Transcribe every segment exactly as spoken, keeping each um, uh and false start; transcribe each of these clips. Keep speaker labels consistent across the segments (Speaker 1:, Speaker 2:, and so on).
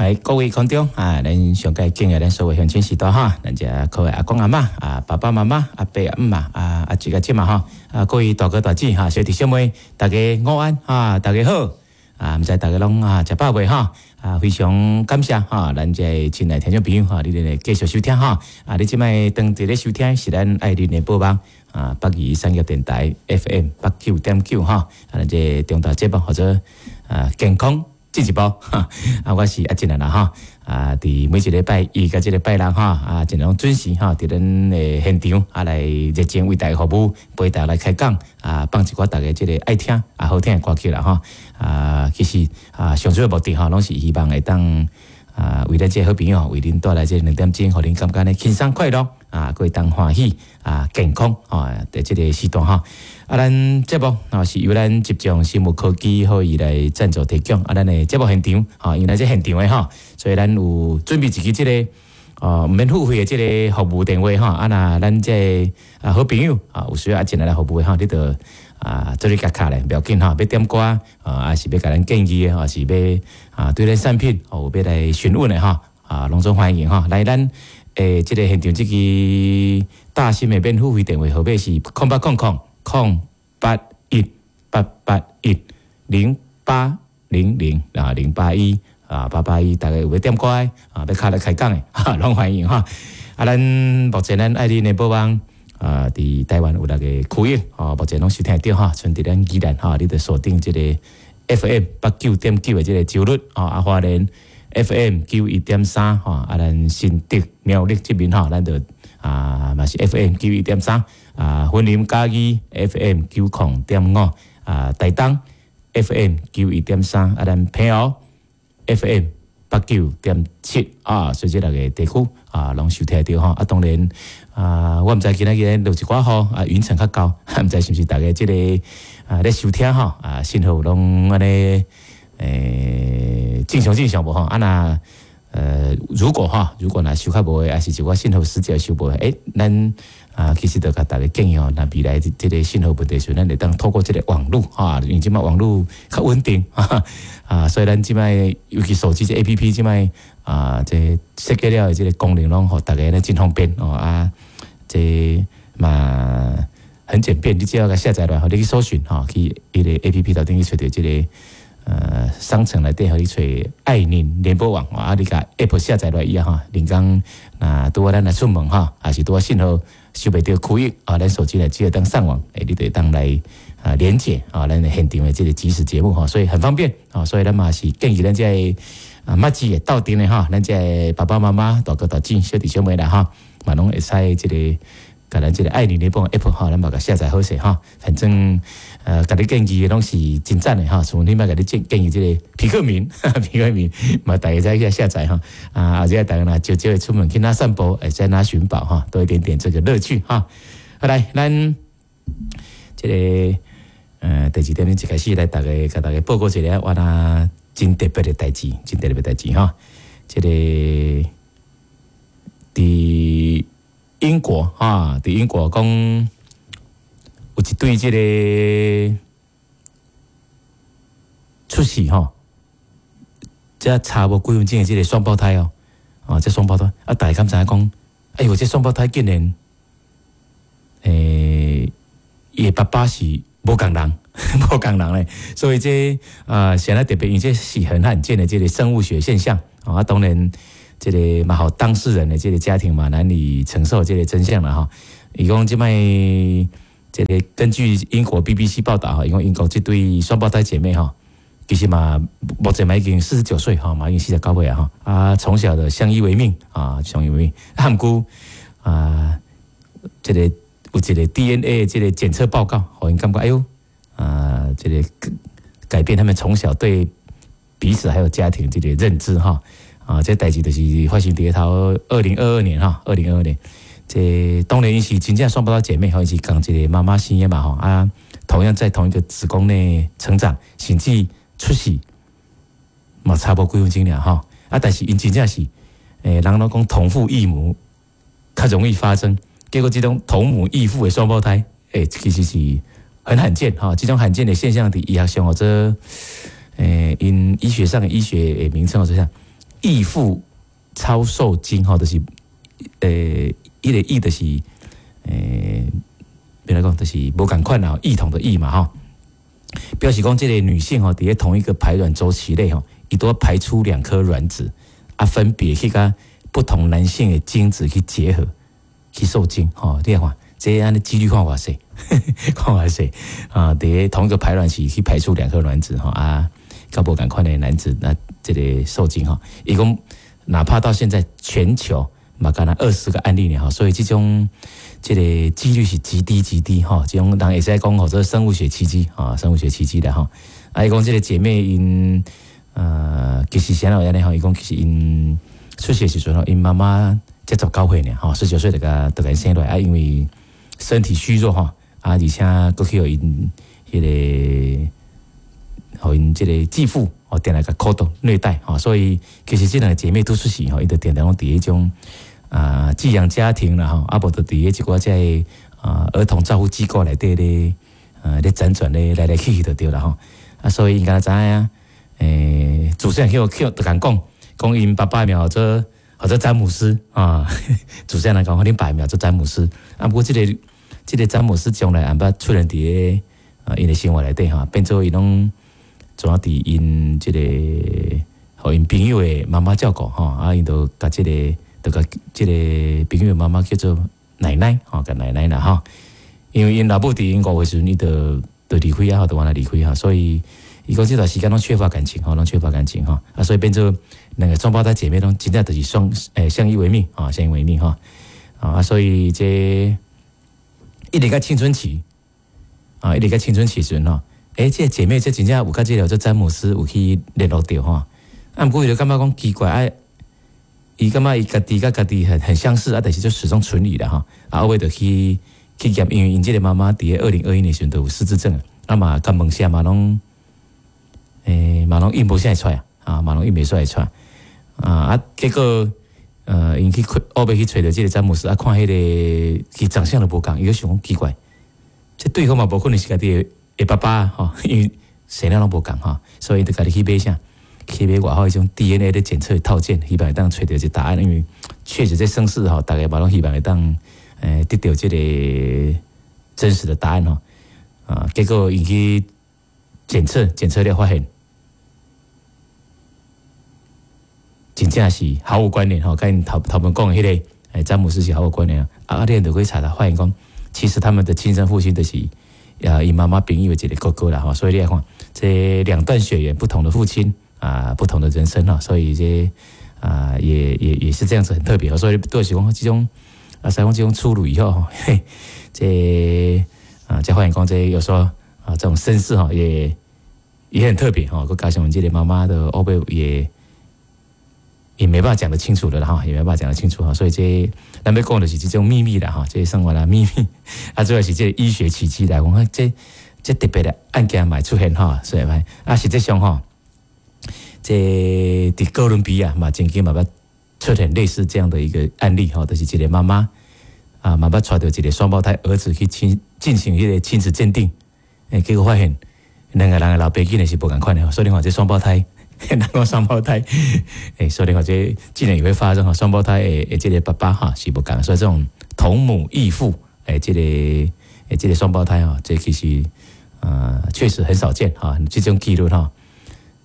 Speaker 1: 來各位觀眾啊，咱上蓋敬愛咱所有鄉親序大哈，咱遮各位阿公阿嬤啊，爸爸媽媽、阿伯阿姆啊，阿叔阿姊嘛吼，啊各位大哥大姐哈，小弟小妹，大家午安啊，大家好啊，毋知大家攏啊食飽未哈？啊，非常感謝哈，咱這親愛聽眾朋友哈，你哋繼續收聽哈，啊，你這擺當佇咧收聽是咱愛鄰聯播網啊，北宜產業電台 F M 八九點九哈，啊，咱這重大節目或者啊健康進一步，哈，啊，我是阿進來啦哈，啊，佇每一禮拜一佮這個拜六哈，啊，盡量準時哈，佇咱的現場啊來熱情為大家服務，陪大家來開講啊，放一寡大家這個愛聽啊好聽的歌曲啦哈，啊，其實啊，上主要目的哈，攏是希望會當啊，為咱這個好朋友，為恁帶來這兩點鐘，予恁感覺呢輕鬆快樂啊，閣會當歡喜啊，健康啊，佇這個時段哈。啊，咱節目啊是由咱集眾生物科技予伊來贊助提供。啊，咱的節目現場，哈，因為咱這現場的哈，所以咱有準備一支這個哦，毋免付費的這個服務電話哈。啊，若咱這個啊好朋友啊有需要進來來服務的哈，你就啊做你共敲咧，無要緊哈，欲點歌啊，還是欲共咱建議的，還是欲啊對咱產品哦有欲來詢問的哈，啊，攏總歡迎哈。來，咱誒這個現場這支大新的免付費電話號碼是空八空空空八一八八一零八零零啊零八一啊八八一，大家有欲點歌的啊，欲敲來開講的，哈，攏歡迎哈。啊，咱目前咱愛鄰聯播網啊，佇台灣有六個區域，吼，目前攏收聽得著哈。賰佇咱宜蘭哈，你就鎖定這個 F M 八九點九的這個周日，吼，啊，花蓮 F M 九一點三，吼，啊，咱新竹苗栗這邊吼，咱就啊嘛是 F M 九一點三，啊，雲林嘉義 F M 九空點五，啊，台東 F M 九一點三，啊，咱平湖 F M 八九點七啊，所以這六個地區啊，攏收聽著吼。啊，當然啊，我毋知今仔日落一寡雨啊，雲層較厚，毋知是毋是大家這個啊咧收聽吼啊，信號攏按呢欸正常正常無吼？啊若呃，如果哈，如果若收較無的，抑是一寡信號死角收無的，欸，咱啊其實就共大家建議吼，若未來這個信號問題時，咱會當透過這個網路哈，因為這擺網路較穩定啊，所以咱這擺尤其手機這 A P P 這擺啊，這設計了的這個功能攏予大家咧真方便哦啊，這嘛很簡便，你只要共下載落來，予你去搜尋吼，去彼個 A P P 頭頂去揣著這個。呃，商城內底予你揣愛鄰聯播網，啊，你共 App 下載落來以後吼，人講若拄仔咱若出門吼，抑是拄仔信號收袂著區域啊，咱手機來只會當上網，欸，你就會當來啊連接啊，咱現場的這個即時節目吼，所以很方便啊，所以咱嘛是建議咱這個啊，麥子的鬥陣的吼，咱這個爸爸媽媽、大哥大姐、小弟小妹啦吼，嘛攏會使這個。共咱這個愛鄰聯播 App 吼，咱嘛共下載好勢吼。反正呃，共你建議的攏是真讚的吼。像你捌共你建建議這個皮克明，皮克明嘛，大家再去下載吼。啊，或者大家若少少會出門去哪散步，會使哪尋寶吼，多一點點這個樂趣哈。好來，咱這個呃第二點鐘一開始來大家共大家報告一個我若真特別的代誌，真特別的代誌吼。這個佇英國哈，佇英國講有一對這個出世吼，這差無幾分鐘的這個雙胞胎哦，啊，這雙胞胎啊，大家敢知影講？哎喲，這雙胞胎竟然，欸，伊的爸爸是無仝人，無仝人咧，所以這啊，顯得特別，因為這是很罕見的這個生物學現象啊，當然。這個嘛，予當事人的這個家庭嘛難以承受這個真相啦吼。伊講這擺這個根據英國 B B C 報道吼，伊講英國這對雙胞胎姐妹吼，其實嘛目前嘛已經四十九歲吼，嘛已經四十九歲啊吼。啊，從小的相依為命啊，相依為命。啊，毋過啊，這個有一個 D N A 這個檢測報告，予𪜶感覺哎喲啊，這個改變他們從小對彼此還有家庭這個認知哈。啊，這代誌就是發生佇頭二零二二年哈，二零二二年，這當然是真正雙胞胎姐妹，吼，是仝一個媽媽生的嘛吼，啊，同樣在同一個子宮內成長，甚至出世嘛差無幾分鐘爾吼，啊，但是𪜶真正是，欸，人攏講同父異母較容易發生，結果這種同母異父的雙胞胎，欸，其實是很罕見哈，這種罕見的現象佇醫學上或者，欸，𪜶醫學上的醫學的名稱或者啥。異父超受精吼，就是呃，彼个異就是呃，欲按怎講，就是無仝款啦，異同的異嘛吼。表示講這個女性吼，佇咧同一個排卵週期內吼，伊都排出兩顆卵子，啊，分別去佮不同男性的精子去結合，去受精吼。你看，這按呢幾率看偌細，看偌細啊！佇咧同一個排卵期去排出兩顆卵子吼啊，佮無仝款的男子那這個受精吼，伊講哪怕到現在全球嘛，敢若二十個案例呢吼，所以這種這個幾率是極低極低吼，這種人會使講號做生物學奇蹟啊，生物學奇蹟的吼。啊，伊講這個姐妹𪜶呃，其實啥會按呢吼，伊講其實𪜶出世時陣吼，𪜶媽媽才十九歲爾吼，十九歲就共就共生落來啊，因為身體虛弱吼，啊，而且閣去予𪜶彼個，予𪜶這個繼父哦，定定共苦鬥虐待吼，所以其實這兩個姐妹拄出世吼，𪜶就定定攏佇彼種啊寄養家庭啦吼，啊無就佇彼一寡這個啊兒童照護機構內底咧，呃咧輾轉咧來來去去就對啦吼，啊，所以𪜶敢若知影，欸，主持人去去就共講，講𪜶爸爸名號做號做詹姆斯啊，主持人來講，恁爸名做詹姆斯，啊，毋過這個這個詹姆斯從來毋捌出現佇個啊𪜶的生活內底吼，變做𪜶攏總啊佇𪜶這個予𪜶朋友的媽媽照顧吼，啊，𪜶就共這個就共這個朋友的媽媽叫做奶奶吼，共奶奶啦吼，因為𪜶老母佇𪜶五歲時陣，伊就就離開啊，就按呢離開哈，所以伊講這段時間攏缺乏感情吼，攏缺乏感情吼，啊，所以變做兩個雙胞胎姐妹攏真正就是相欸相依為命啊，相依為命吼，啊，所以這一直到青春期啊，一直到青春期時陣吼，欸，這個姐妹這真正有佮這個做詹姆斯有去聯絡著吼，啊，毋過伊就感覺講奇怪啊，伊感覺伊家己佮家己很很相似啊，但是就始終存疑啦吼，啊，後尾就去去驗，因為𪜶這個媽媽佇二零二一年時陣就有失智症，啊嘛，共問啥嘛攏，欸嘛攏應無啥會出來啊，嘛攏應袂出來出來，啊啊，結果呃，𪜶去後尾去揣著這個詹姆斯啊，看彼個伊長相都無仝，伊就想講奇怪，這對方嘛無可能是家己的的爸爸吼，因為生了攏無仝吼，所以就家己去買啥，去買外口彼種 D N A 的檢測套件，希望會當揣著一個答案，因為確實這生死吼，大家嘛攏希望會當欸得著這個真實的答案吼，啊，結果𪜶去檢測，檢測了發現，真正是毫無關聯吼，佮𪜶頭頭前講的彼個欸詹姆斯是毫無關聯啊！啊，你就可以查查發現講，其實他們的親生父親就是啊，𪜶媽媽朋友的一個哥哥啦吼，所以你來看，這兩段血緣，不同的父親啊，不同的人生哈，所以這啊也也也是這樣子很特別，所以都是講這種啊，使講這種出爐以後，嘿，這啊，才發現講這有時候啊，這種身世哈也也很特別吼，閣加上這個媽媽的後背也。也沒辦法講得清楚的啦哈，也沒辦法講得清楚哈，所以這咱欲講的是這種秘密啦哈，這生活的秘密啊，主要是這個醫學奇蹟來講，這這特別的案件嘛出現哈，所以嘛啊，實際上哈，這佇哥倫比亞嘛，曾經嘛捌出現類似這樣的一個案例哈，就是一個媽媽啊，媽媽帶著一個雙胞胎兒子去親進行彼個親子鑑定，欸，結果發現兩個人的老爸竟然是無仝款的，所以你看這雙胞胎。人講雙胞胎，欸，所以你看這竟然也會發生哈，雙胞胎的的這個爸爸哈是無仝，所以這種同母異父，欸，這個欸這個雙胞胎哈，這其實呃確實很少見哈，這種幾率哈，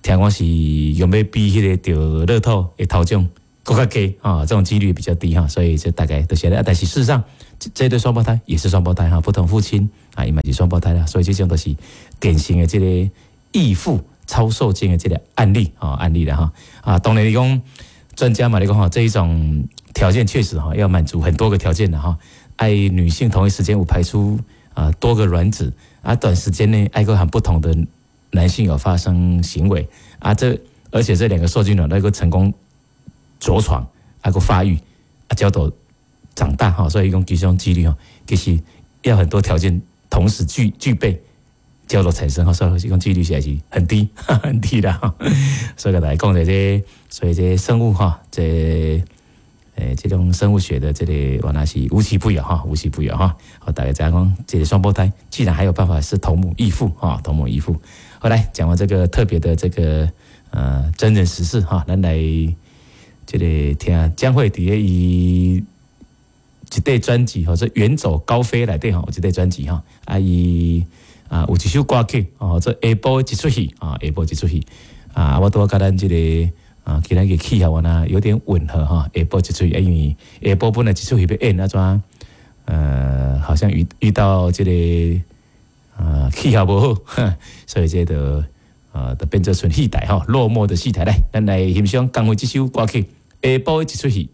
Speaker 1: 聽講是用欲比彼個著樂透的頭獎閣較低啊，這種幾率比較低哈，所以這大概就是啊，但是事實上這這對雙胞胎也是雙胞胎哈，不同父親啊，伊嘛是雙胞胎啦，所以這種都是典型的這個異父超受精的這個案例啊，案例啦哈啊，當然你講專家嘛，你講哈，這一種條件確實哈要滿足很多個條件的哈，愛女性同一時間有排出啊多個卵子啊，短時間內愛閣和不同的男性有發生行為啊，這而且這兩個受精卵能夠成功着床，啊閣發育啊，叫做長大哈，所以講這種幾率哈，其實要很多條件同時具具備。叫做產生哈，所以講幾率實在是很低，很低啦。所以來講這個，所以這生物哈，這欸這種生物學的這個原來是無奇不有哈，無奇不有哈。好，大家知影講，這個雙胞胎竟然還有辦法是同母異父哈，同母異父。好，來講完這個特別的這個呃真人實事哈，咱來這个聽江蕙佇咧伊一塊專輯吼，做遠走高飛內底吼，有一塊專輯吼，啊伊啊有一首歌曲哦，做下晡一齣戲啊，下晡一齣戲啊，我拄仔佮咱這个啊，今仔个氣候呢有點吻合哈，下晡一齣戲，因為下晡本來一齣戲欲演按怎，呃，好像遇遇到這个啊氣候無好，所以這个啊，就變做賰戲台吼，落寞的戲台來，咱來欣賞江蕙這首歌曲《下晡一齣戲》。